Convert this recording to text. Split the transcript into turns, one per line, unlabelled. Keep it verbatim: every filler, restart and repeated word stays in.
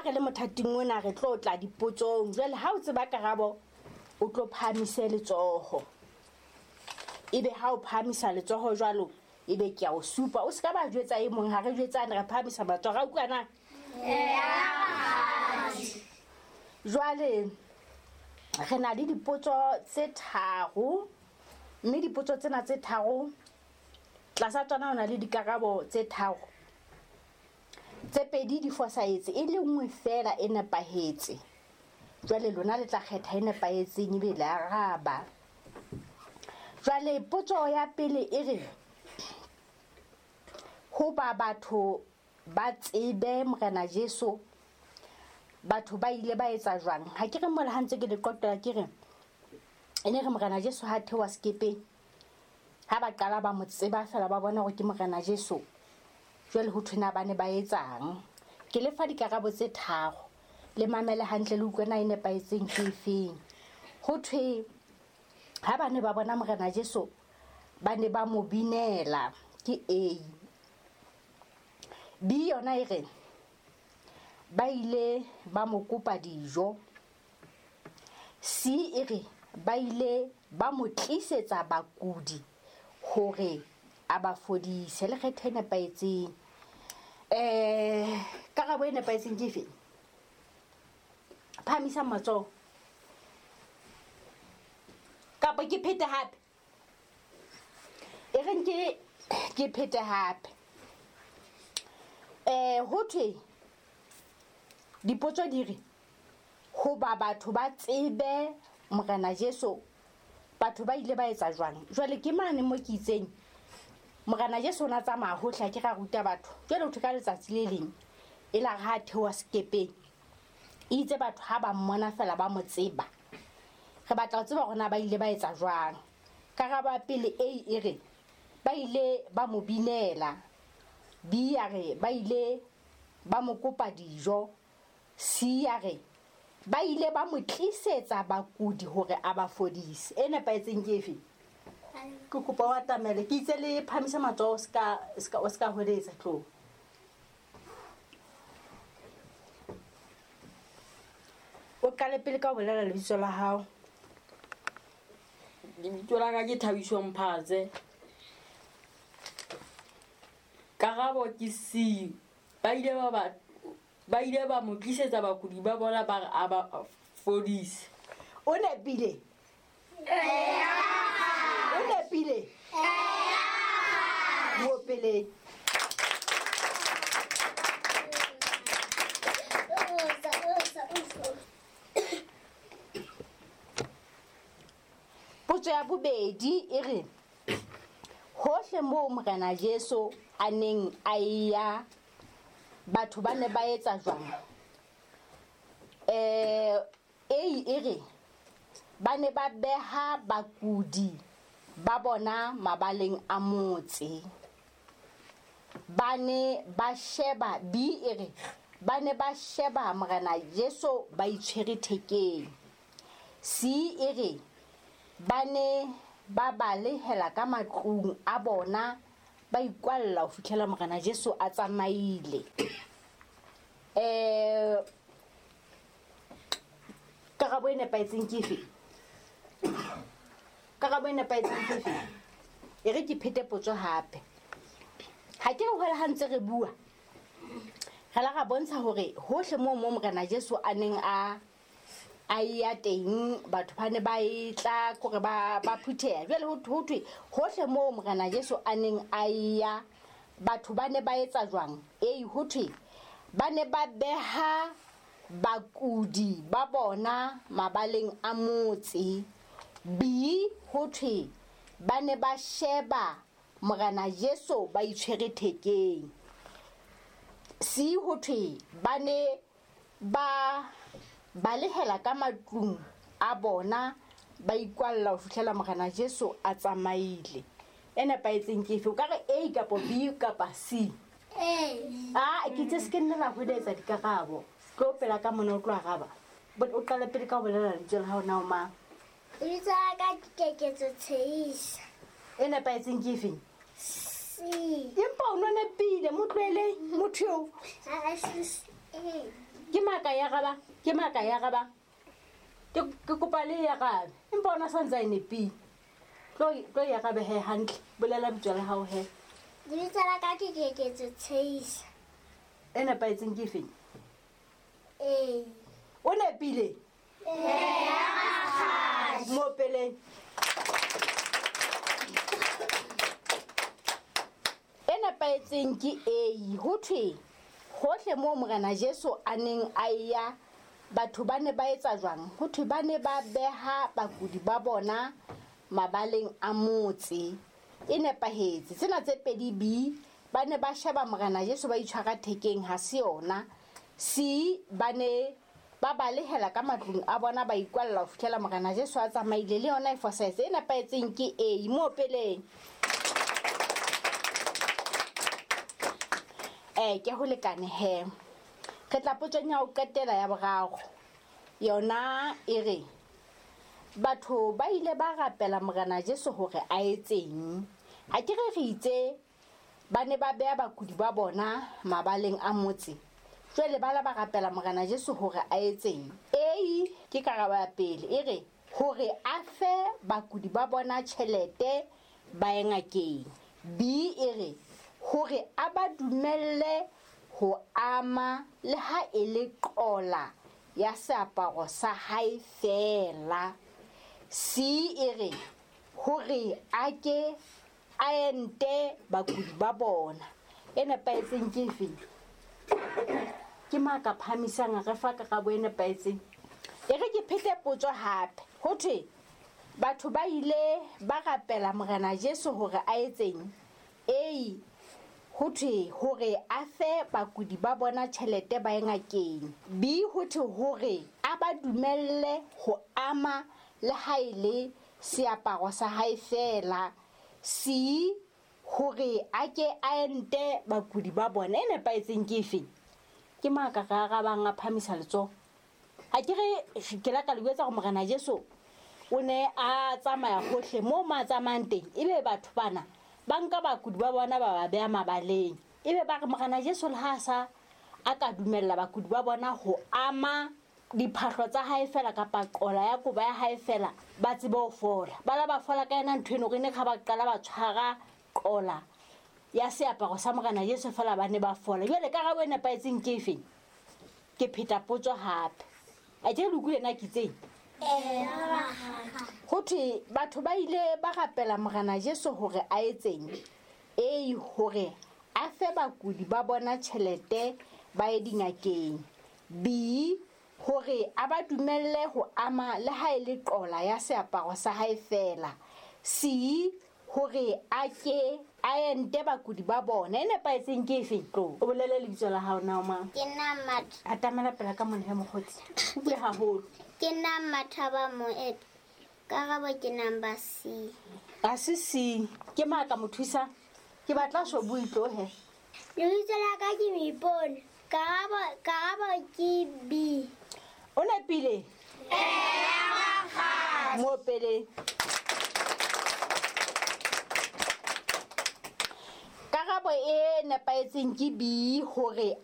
Ha re le mothating ona re tlo tla dipotsong. Jwale ha o tseba karabo o tlo phahamise letsoho. Ebe ha o phahamisa letsoho jwalo ebe ke a o supa. O ska ba jwetsa e mong, ha re jwetsane re phahamisa matsoho. Ra utlwa na? Jwale re na le dipotso tse tharo, mme dipotso tsena tse tharo tlasa tsona ho na le dikarabo tse tharo. Tse pedi di fosahetse, e le nngwe fela e nepahetse. Jwale lona le tla kgetha e nepahetseng ebe le araba. Jwale potso ya pele e re, hoba batho ba tsebe Morena Jesu, batho ba ile ba etsa jwang? Ha ke re mola ha ntse ke le qoqela ke re e ne re Morena Jesu ha theoha sekepeng, ha ba qala ba mo tseba fela ba bona hore ke Morena Jesu, jwale ho thwe na ba ne ba etsang? Ke le fa dikarabo tse tharo, le mamele hantle le utlwe na e nepahetseng ke efeng. Ho thwe ha ba ne ba bona Morena Jesu ba ne ba mo binela, ke A. B yona e re ba ile ba mo kopa dijo. C e re ba ile ba mo tlisetsa bakudi hore a ba fodise. Le kgethe e nepahetseng. Eh, karabo e nepahetseng ke efe? Phahamisa matsoho. Kapa ke phete hape? E reng ke ke phete hape. Eh, ho thwe dipotso di re hoba batho ba tsebe Morena Jesu, batho ba ile ba etsa jwang? Jwale ke mane mo ke itseng Morena Jesu o na tsamaya hohle a ke ra ruta batho. Jwale ho thwe ka letsatsi le leng e la re ha theoha sekepeng, itse batho ha ba mmona fela ba mo tseba. Re batla ho tseba hore na ba ile ba etsa jwang. Karabo ya pele A e re ba ile ba mo binela. B ya re ba ile ba mo kopa dijo. C ya re ba ile ba mo tlisetsa bakudi hore a ba fodise. E nepahetseng ke efe? Ke kopa o atamele. Ke itse le phahamisa matsoho, o ska, ska, o ska hweletsa, tlo. O qale pele ka ho bolela lebitso la hao.
Lebitso la ka ke Thabiso Mphatse. Karabo ke C. Ba ile ba ba, ba ile ba mo tlisetsa bakudi ba bona ba re a ba fodise.
O nepile? O nepile? Mo pele. Potso ya bobedi e re hohle moo Morena Jesu a neng a ya, batho ba ne ba etsa jwang? Eh, A e re ba ne ba beha bakudi ba bona mabaleng a motse. Ba ne ba sheba, B e re ba ne ba sheba Morena Jesu ba itshwere thekeng. C e re ba ne ba balehela ka matlung a bona ba ikwalla ho fihlela Morena Jesu a tsamaile. Eh, karabo e nepahetseng ke efe? Karabo e nepahetseng ke efe? E re ke phete potso hape. Ha ke re hole ha ntse re bua, re la ra bontsha hore hohle moo mo Morena Jesu a neng a a ya teng, batho ba ne ba e tla kore ba, ba phutheha. Jwale ho ho thwe hohle moo Morena Jesu a neng a ya, batho ba ne ba etsa jwang? A ho thwe ba ne ba beha bakudi ba bona mabaleng a motse. B ho thwe ba ne ba sheba Morena Jesu ba itshwere thekeng. C ho thwe ba ne ba balehela ka matlung a bona ba ikwalla ho fihlela Morena Jesu a tsamaile. E nepahetseng ke efe? O ka re A kapa B kapa C?
A.
Ah, ke itse se ke nna la hweletsa dikarabo. Tlo pela ka mona o tlo araba. But o qale pele ka ho bolela lebitso la hao na o mang?
Lebitso la ka ke Keketso Tsheisa.
E nepahetseng ke efeng?
C.
Empa o no nepile, mo tlohele motho eo.
Ha, ha, C, A.
Ke mang? maka ya arabang? Ke maka ya arabang? Ke ke kopa le e arabe. Empa ona sa ntse a e nepile. Tlo tlo e arabe he hantle. Bolela lebitso la hao he.
Lebitso la ka ke Keketso Tsheisa.
E nepahetseng ke efeng?
Ee.
O nepile?
Ee.
Mo peleng. E nepahetseng ke A. Ho thwe hohle moo Morena Jesu a neng a ya, batho ba ne ba etsa jwang? Ho thwe ba ne ba beha bakudi ba bona mabaleng a motse. E nepahetse. Tsena tse pedi B, ba ne ba sheba Morena Jesu ba itshwara thekeng, ha se yona. C, ba ne ba balehela ka matlung a bona ba ikwalla ho fihlela Morena Jesu a tsamaile, le yona e fosahetse. E nepahetseng ke A. Mo peleng. Eh, ke ho lekane he. Re tla potsong ya ho qetela ya boraro. Yona e re batho ba ile ba rapela Morena Jesu hore a etseng. Ha ke re re itse ba ne ba beha bakudi ba bona mabaleng a motse. Jwale ba la ba rapela Morena Jesu hore a etseng. A ke karabo ya pele e re hore a fe bakudi ba bona tjhelete ba ye ngakeng. B e re hore a ba dumelle ho ama le ha e le qola ya seaparo sa hae fela. C e re hore a ke a ente bakudi ba bona. E nepahetseng ke efe? Ke mang ka phahamisang a re fa karabo e nepahetseng? E re ke phete potso hape. Ho thwe batho ba ile ba rapela Morena Jesu hore a etseng? A, ho thwe hore a fe bakudi ba bona tjhelete ba ye ngakeng. B, ho thwe hore a ba dumelle ho ama le ha e le seaparo sa hae fela. C, hore a ke a ente bakudi ba bona. E nepahetseng ke efe? Ke mang ka re arabang a phahamisa letsoho? Ha ke re ke la ka le jwetsa hore Morena Jesu o ne a tsamaya hohle moo mo a tsamayang teng, ebe batho bana ba nka bakudi ba bona ba ba beha mabaleng. Ebe ba re Morena Jesu le ha a sa a ka dumella bakudi ba bona ho ama diphahlo tsa hae fela kapa qola ya kobo ya hae fela, ba tsebe ho fola. Ba la ba fola ka yena ntho eno, re ne ha ba qala ba tshwara qola ya seaparo sa Morena Jesu fela ba ne ba fola. Jwale karabo e nepahetseng ke efeng? Ke pheta potso hape. A ke le utlwile na ke itseng?
Ee.
Ho thwe batho ba ile ba rapela Morena Jesu hore a etseng? A, hore a fe bakudi ba bona tjhelete ba ye dingakeng. B, hore a ba dumelle ho ama le ha e le qola ya seaparo sa hae fela. C, hore a ke a ente bakudi ba bona. E nepahetseng ke efe? Tlo o bolele lebitso la hao na o mang?
Ke nna Matha.
Atamela pela ka mona he mokgotsi. O bue haholo.
Ke nna Mathaba Moeto. Karabo ke number C.
A se C. Ke mang ka mo thusa? Ke batla so bue tlo he.
Lebitso la ka ke Moipone. Karabo, karabo ke B.
O nepile?
Ee.
Mo pele. Karabo e nepahetseng ke B, hore